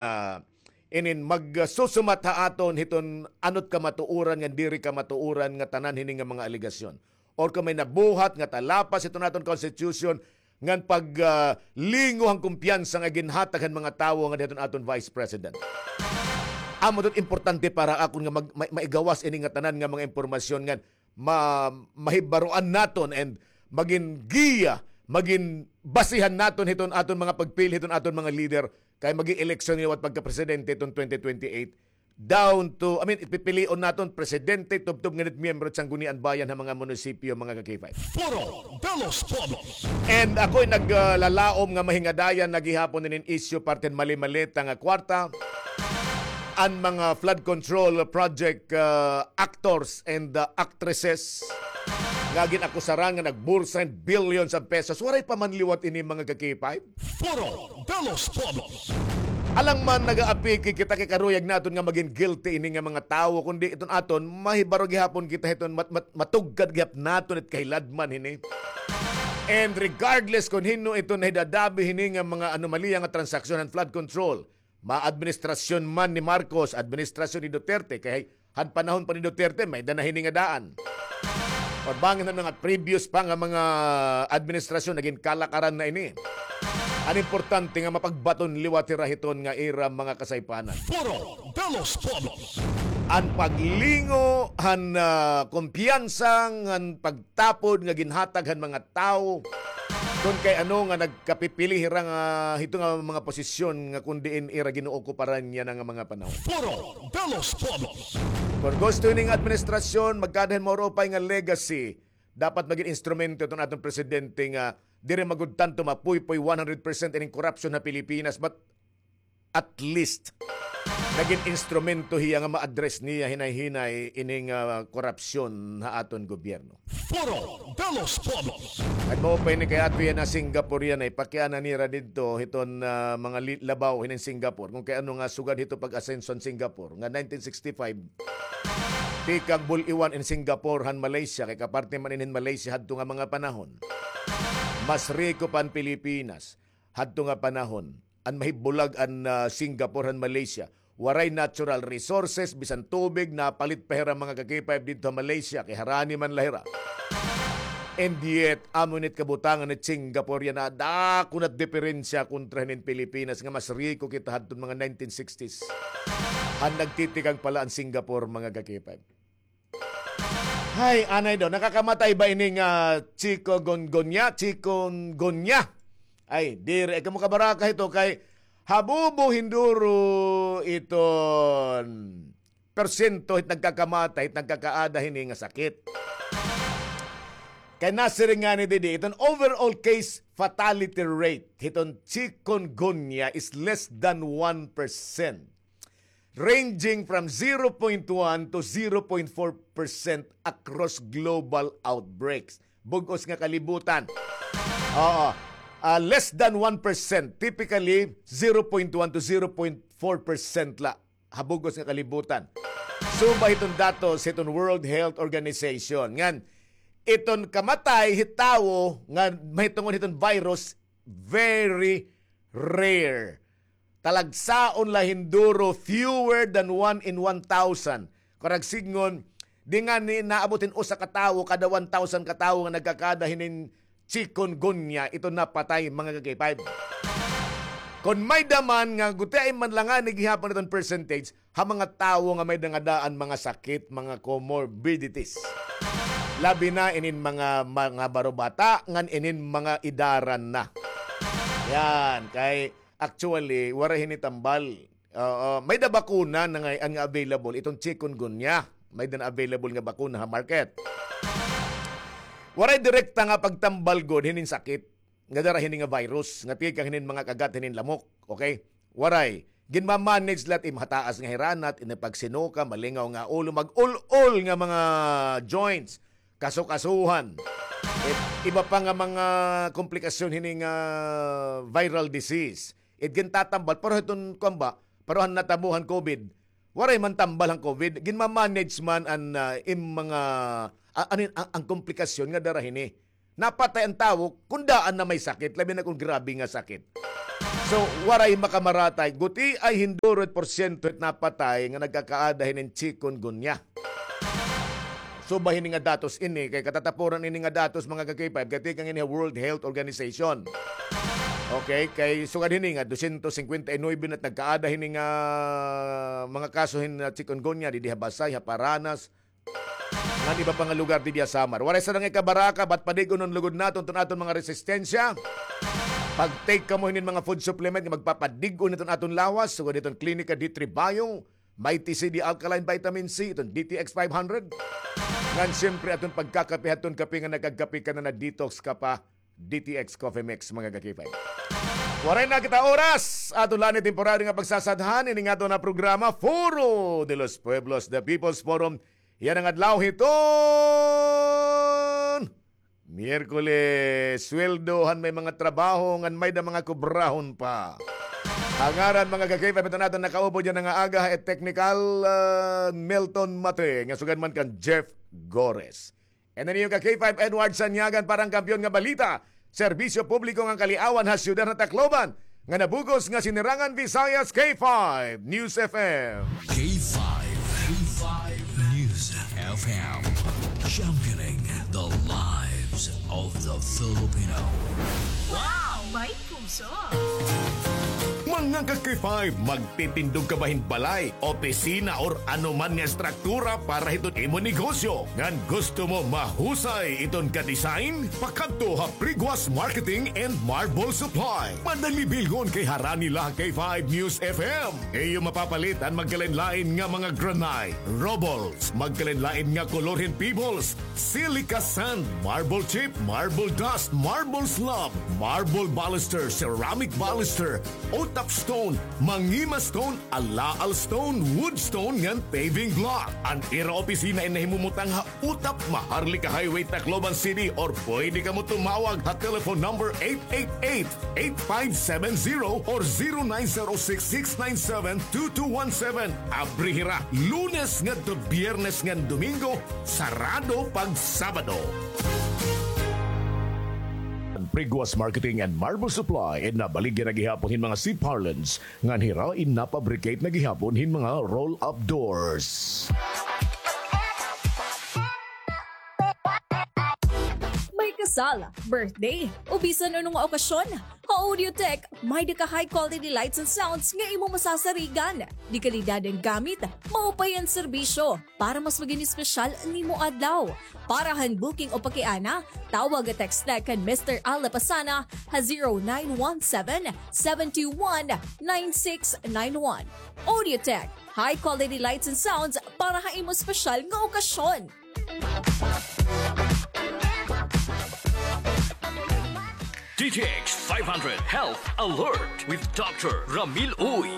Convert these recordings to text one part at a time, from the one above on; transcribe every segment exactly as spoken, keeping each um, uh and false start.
ah, inin magsusumat ha aton hiton ano't kamatuoran ngan diri kamatuoran nga tanan hini nga mga alegasyon. Or kon may nabuhat nga talapas hiton aton constitution ngan pag, ah, lingo han kumpiyansa nga ginhatag han mga tawo nga hiton aton Vice President. Amo ito't importante para akon nga mag-, ma-, maigawas ini nga tanan nga mga impormasyon ngan ma-, mahibaroan naton and magin giya, magin basihan naton hiton aton mga pagpili hiton aton mga leader kay magin eleksyon liwat pagka-presidente hiton twenty twenty-eight. Down to, I mean, ipipilion naton presidente, tubtob ngan it miyembro it Sangguniang Bayan ha mga munisipyo, mga ka-K five. Foro de los Pueblos. And ako'y naglalaom nga mahingadayan na gihapon inin isyu parte han mali-maleta nga kwarta an mga flood control project, ah, actors and, ah, actresses nga gin-akusaran nga nagbursa hin billions of pesos. Waray pa man liwat ini, mga ka-K five. Foro de los Pueblos. Alang man nagaapiki kita kay karuyag naton nga magin guilty ini nga mga tawo, kundi iton aton mahibaro gihapon kita hiton mat-, mat-, matugkad gihap naton it kahiladman hini. And regardless kon hin-o iton nahidadabi hini nga mga anomalya nga transaksyon han flood control, ma-administrasyon man ni Marcos, administrasyon ni Duterte, kay han panahon pa ni Duterte, may-ada na hini nga daan. Or bangin han mga previous pa nga mga administrasyon, nagin kalakaran na ini. An importante nga mapagbaton liwat hira hiton nga ira mga kasaypanan. Foro de los Pueblos. An paglingo han, ah, kumpiyansa ngan pagtapod nga ginhatag han mga tawo kon kay ano nga nagkapipili hira nga hito nga mga posisyon nga kon diin ira gin-ookuparan yana nga mga panahon. Foro de los Pueblos. Kon gusto ini nga administrasyon magkada hin maurupay nga legacy, dapat magin instrumento iton aton presidente nga diri man gud tanto mapuypoy one hundred percent ining korupsyon ha Pilipinas, but at least nagin instrumento hiya nga ma-address niya hinay-hinay ining, ah, korupsyon ha aton gobyerno. Foro de los Pueblos. Ngan mao pa ini kay ato yana Singapore yana, ipakiana nira didto hiton, ah, mga li-, labaw hinin Singapore. Kon kay ano nga sugad hito pag-asenso han Singapore nga nineteen sixty-five, tikang bul-iwan in Singapore han Malaysia, kay kaparte man ini hin Malaysia hadto nga mga panahon. Mas riko pa an Pilipinas hadto nga panahon. An mahibulag an, ah, Singapore han Malaysia. Waray natural resources, bisan tubig, napalit pa hira mga ka-K five didto ha Malaysia, kay harani man la hira. And yet, amo ini it kabutangan hit Singapore yana, dako na it diperensya kontra hinin Pilipinas nga mas riko kita hadton mga nineteen sixties. Han nagtitikang pa la an Singapore, mga ka-K five. Hay, anay daw, nakakamatay ba ini nga chikungunya? Chikungunya. Ay, diri, ay kamo kabaraka hito kay habubo hinduro iton persyento hit nagkakamatay, hit nagkakaada hini nga sakit. Kay nasiring ngani didi, iton overall case fatality rate hiton chikungunya is less than one percent, ranging from zero point one to zero point four percent across global outbreaks. Bug-os nga kalibutan. Oo. Ah, less than one percent, typically zero point one to zero point four percent la ha bug-os nga kalibutan. Subay hiton datos hiton World Health Organization. Ngan, iton kamatay hit tawo nga mahitungod hiton virus, very rare. Talagsaon la hinduro, fewer than one in one thousand. Kurang sidngon, di ngani naabot hin usa ka tawo kada one thousand ka tawo nga nagkakada hinin chikungunya, ito napatay, mga ka-K five. Kon may-ada man nga gutiay man la ngani gihapon iton percentage, ha mga tawo nga may-ada nga daan mga sakit, mga comorbidities. Labi na inin mga, mga barobata, ngan inin mga idaran na. Yan, kay actually, waray hini tambal. Oo, may-ada bakuna na ngay-an nga available, iton chikungunya. May-ada na available nga bakuna ha market. Waray direkta nga pagtambal gud hinin sakit nga dara hini nga virus, nga tikang hinin mga kagat hinin lamok. Okay? Waray. Ginma-manage la it im hataas nga hiranat, ini pagsinuka, malingaw nga ulo, mag-ul-ol nga mga joints, kasukasuhan. It iba pa nga mga komplikasyon hini nga viral disease. It gintatambal, pero hiton kuan ba, pero han natabo han COVID, waray man tambal han COVID, ginma-manage man an, ah, im mga, ah, ano yun, ang, ang komplikasyon nga dara hini. Napatay an tawo kon daan na may sakit, labi na kon grabe nga sakit. So, waray makamaratay. Gutiay hindurot porsyento it napatay nga nagkakaada hinin chikungunya. Subay hini nga datos ini, kay katatapuran ini nga datos, mga ka-K five, gatikang ini ha World Health Organization. Okay, kay sugad hini nga dosyentos singkwenta y nuwebe na it nagkaada hini nga mga kaso hin, ah, chikungunya didi ha Basey, ha Paranas, ngan iba pa nga lugar didi ha Samar. Waray sa nang ikabaraka, bat padig-on lugod naton iton aton mga resistensya. Pag-take kamo hinin mga food supplement nga magpapadig-on hiton aton lawas, sugad hiton Klinika D three Bio, Mighty C D Alkaline Vitamin C, iton D T X five hundred. Ngan siyempre aton pagkakape hadton kape nga nagkakape ka na, nag-detox ka pa, D T X Coffee Mix, mga ka-K five. Waray na kita oras. Aton la ini temporary nga pagsasadhan, ini nga aton nga programa, Foro de los Pueblos, The People's Forum. Yana nga adlaw hiton Miyerkules, sweldo han may mga trabaho ngan may-ada mga kubrahon pa. Ha ngaran, mga ka-K five, iton aton nakaupod yana nga aga, ha technical, ah, Milton Mate, nga sugad man kan Jeff Gores. And an iyo ka-K five, Edward Sanyagan, para han Kampiyon nga Balita, Serbisyo Publiko ngan Kaliawan ha Siyudad han Tacloban, nga nabug-os nga Sinirangan Visayas, K five News F M. K five, K five News F M, championing the lives of the Filipino. Wow! May puso! Mga ka-K five, magtitindog ka ba hin balay, opisina, or ano man nga estruktura para hiton imo negosyo? Ngan gusto mo mahusay iton ka-design? Pakadto ha Priguas Marketing and Marble Supply. Madali bilhon kay harani la ha K five News F M. Iyo mapapalit an magkalain-lain nga mga granite, rubbles, magkalain-lain nga kolor hin pebbles, silica sand, marble chip, marble dust, marble slab, marble baluster, ceramic baluster, otap stone, mangima stone, alaal stone, wood stone, ngan paving block. An ira opisina in nahimumutang ha Utap, Maharlika Highway, Tacloban City, or pwede kamo tumawag ha telephone number eight eight eight, eight five seven zero or zero nine zero six, six nine seven, two two one seven. Abri hira Lunes ngadto Biyernes ngan Domingo, sarado pag Sabado. Priguas Marketing and Marble Supply, in nabaligya na gihapon hin mga C-parlance, ngan hira in napabricate na gihapon hin mga roll-up doors. May kasal, birthday, o bisan ano nga okasyon, ha Audiotech, may-ada ka high quality lights and sounds nga imo masasarigan. De kalidad an gamit, maupay an serbisyo. Para mas magin espesyal nimo adlaw. Para han booking o pakiana, tawag o text la kan Mister Al Lapasana ha zero nine one seven, seven two one, nine six nine one. Audiotech, high quality lights and sounds para ha imo espesyal nga okasyon. D T X five hundred Health Alert with Doctor Ramil Uy.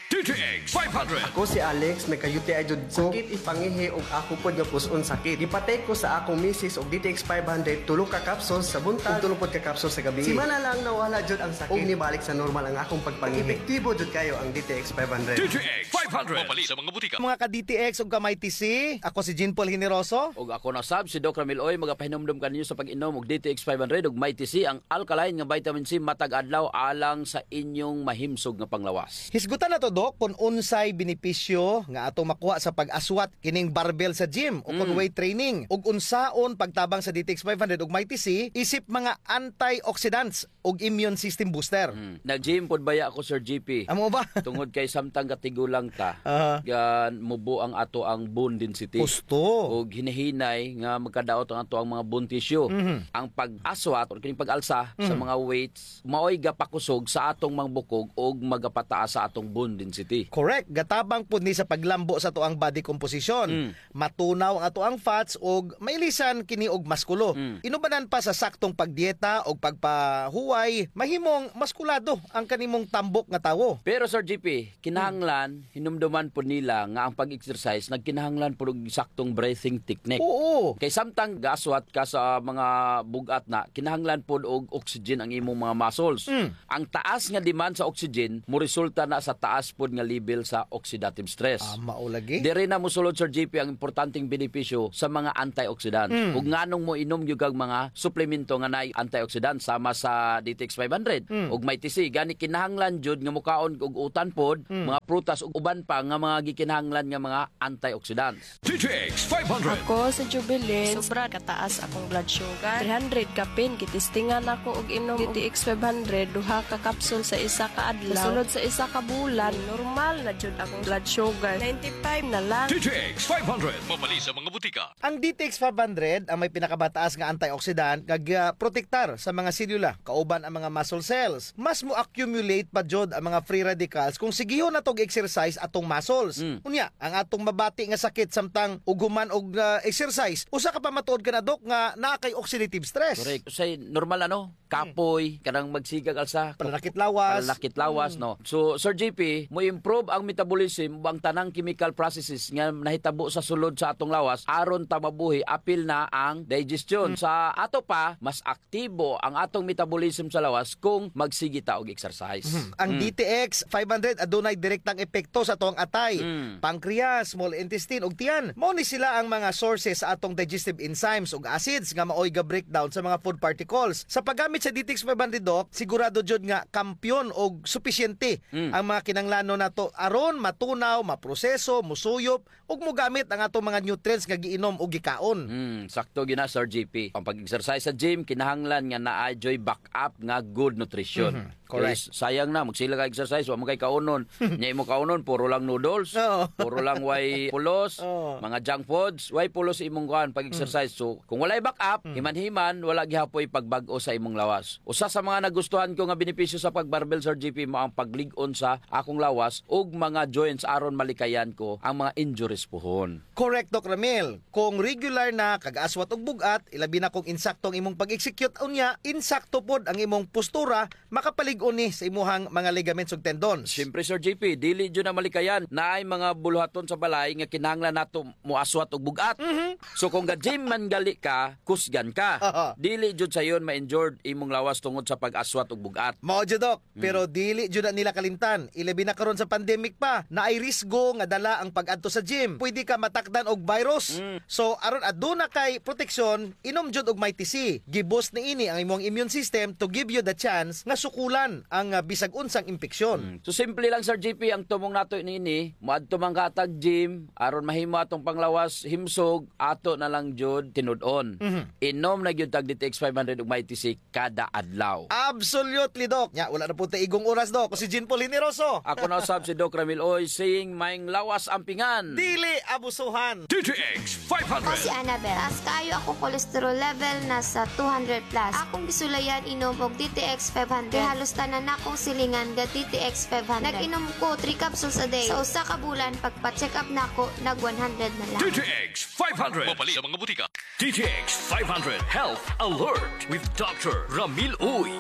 D T X five hundred. Ako si Alex, nagka-U T I jud ko. Sakit it pangihi ug ako pod nga pus-on sakit. Gipa-take ko sa akong misis og D T X five hundred, tulo ka capsules sa buntag ug tulo pod ka capsules sa gabii. Semana lang nawala jud ang sakit ug nibalik sa normal ang akong pagpangihi. Epektibo jud kayo ang D T X five hundred. D T X five hundred. Mapalit sa mga butika. Mga ka-D T X ug ka-Mighty C, ako si Jean Paul Generoso. Ug ako na sab, si Doc Ramil Uy, magapahinumdom kaninyo sa pag-inom og D T X five hundred ug Mighty C, ang alkaline nga vitamin C matag adlaw alang sa inyong mahimsog nga panglawas. Hisgutan nato, Doc, kon unsay benepisyo nga ato makuha sa pag-aswat kining barbell sa gym o kon weight training, ug unsaon pagtabang sa D T X five hundred ug Mighty C isip mga antioxidants ug immune system booster. Hmm. Nag-gym pod baya ako, Sir G P. Amo ba? Tungod kay samtang gatigulang ta, Aha. gan mubo ang ato ang bone density. Husto. Ug hinahinay nga magkadaot ang ato ang mga bone tissue. Mhm. Ang pag-aswat or kining pag-alsa sa Mhm. mga weights, maoy gapakusog sa atong mga bukog ug magapataas sa atong bone density. Correct. Gatabang pud ni sa paglambo sa ato ang body composition. Mm. Matunaw ang ato ang fats ug mailisan kini og maskulo. Mm. Inubanan pa sa saktong pagdieta ug pagpahuway, mahimong maskulado ang kanimong tambok nga tawo. Pero, Sir G P, kinahanglan, hinumduman pod nila nga ang pag-exercise nagkinahanglan pod og saktong breathing technique. Oo. Kay samtang gaaswat ka sa mga bug-at na, kinahanglan pod og oxygen ang imong mga muscles. Mm. Ang taas nga demand sa oxygen, moresulta na sa taas pod nga level sa oxidative stress. Ah, mao lagi. Diri na mosulod, Sir J P, ang importanteng benepisyo sa mga antioxidant. Mm. Ug nganong moinom gyud kag mga suplemento nga naay antioxidant sama sa D T X five hundred Mm. ug Mighty C. Gani kinahanglan jud nga mokaon og utan pod, Mm. mga prutas ug uban pa nga mga gikinahanglan nga mga antioxidants. D T X five hundred. Ako si Jubilin. Sobra kataas akong blood sugar. Three hundred kapin, gitistingan ako og inom D T X five hundred, duha ka kapsul sa isa ka adlaw. Sulod sa isa ka bulan, normal na jud akong blood sugar. Ninety-five na lang. D T X five hundred. Mabali sa mga butika. Ang D T X five hundred ang may pinakamataas nga antioxidant nga gaprotektar sa mga selula, kauban ang mga muscle cells. Mas mo-accumulate pa jud ang mga free radicals kung sigihon nato og exercise atong muscles. Mm. Unya, ang atong mabati nga sakit samtang ug human og, ah, exercise, usa ka pamatuod kana, Doc, nga naa kay oxidative stress. Correct. Usahay normal, ano? Kapoy, kanang magsigag alsa. Pananakit lawas. Pananakit lawas, Mm. no? So, Sir J P, mo-improve ang metabolism ug ang tanang chemical processes nga nahitabo sa sulod sa atong lawas aron ta mabuhi, apil na ang digestion. Mm. Sa ato pa, mas aktibo ang atong metabolism sa lawas kung magsige ta og exercise. Mhm. Ang Mm. D T X five hundred adunay direktang epekto sa atong atay, Mm. pancreas, small intestine, ug tiyan. Mao ni sila ang mga sources sa atong digestive enzymes ug acids nga maoy ga-breakdown sa mga food particles. Sa paggamit sa D T X five hundred, Doc, sigurado jud nga kampiyon ug supisyente Mm. ang mga kinahanglanon nato aron matunaw, maproseso, musuyop, ug mogamit ang atong mga nutrients nga giinom o gikaon. Hmm, sakto gyud na, Sir J P. Ang pag-exercise sa gym, kinahanglan nga naa juy backup nga good nutrition. Mhm, correct. Kay sayang na, magsige ka exercise, wa man kay kaunon. Nya imo kaunon, puro lang noodles, Oo. puro lang way pulos, Oo. mga junk foods, way pulos imong kuan pag-exercise. Mm. So, kung walay backup, Mm. himan-himan, wala gihapoy pagbag-o sa imong lawas. Usa sa mga nagustuhan ko nga benepisyo sa pag-barbell, Sir J P, mao ang paglig-on sa akong lawas ug mga joints aron malikayan ko ang mga injuries puhon. Correct, Doc Ramil. Kung regular na kag aswat og bug-at, ilabi na kung insakto ang imong pag-execute, unya, insakto pod ang imong postura, makapalig-on ni sa imuhang mga ligaments ug tendons. Siyempre, Sir J P, dili jud na malikayan. Naay mga buluhaton sa balay nga kinahanglan nato moaswat og bug-at. Mhm. So, kung ga-gym man gali ka, kusgan ka. Aha. Dili jud sayon ma-injured imong lawas tungod sa pag-aswat og bug-at. Mao jud, Doc. Mm. Pero dili jud na nila kalimtan. Ilabi na karon sa pandemic pa, naay risgo nga dala ang pag-adto sa gym. Pwede ka matakdan og virus. Mm. So, aron aduna kay proteksyon, inom jud og Mighty C. Gi-boost niini ang imong immune system to give you the chance nga sukulan ang, ah, bisag unsang impeksyon. Mm. So, simple lang, Sir J P, ang tumong nato niini, moadto man ka hatag gym, aron mahimo atong panglawas, himsog, ato na lang jud tinud-on. Mhm. Inom na gyud tag D T X five hundred ug Mighty C kada adlaw. Absolutely, Doc. Nya, wala na po ta igong oras, Doc. Ako si Jean Paul Generoso. Ako na usab si Doc Ramil Uy, saying, "Maayong lawas ampingan." Dili abusuhan. D T X five hundred. Ako si Annabel. Taas kaayo akong cholesterol level, nasa two hundred plus. Akong gisulayan inom og D T X five hundred. Kay halos tanan nakong silingan ga D T X five hundred. Nag-inom ko three capsules a day. Sa usa ka bulan, pagpa-check up nako, nag one hundred na lang. D T X five hundred. Mapalit sa mga butika. D T X five hundred Health Alert with Doctor Ramil Uy.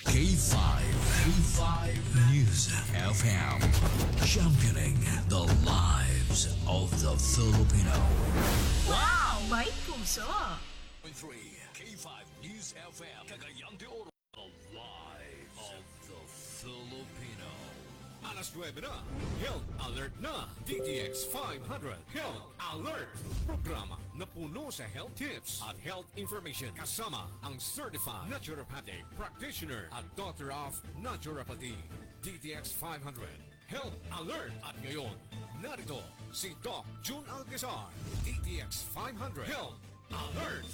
K five, K five News F M, championing the lives of the Filipino. Wow! May puso! Point three, K five News F M, Cagayan de Oro. The lives of the Filipino. Alas nuebe na, Health Alert na, D T X five hundred Health Alert. Programa na puno sa health tips at health information, kasama ang certified naturopathic practitioner at doctor of naturopathy. D T X five hundred Health Alert. At ngayon, narito si Doc Jun Alcazar, D T X five hundred Health Alert.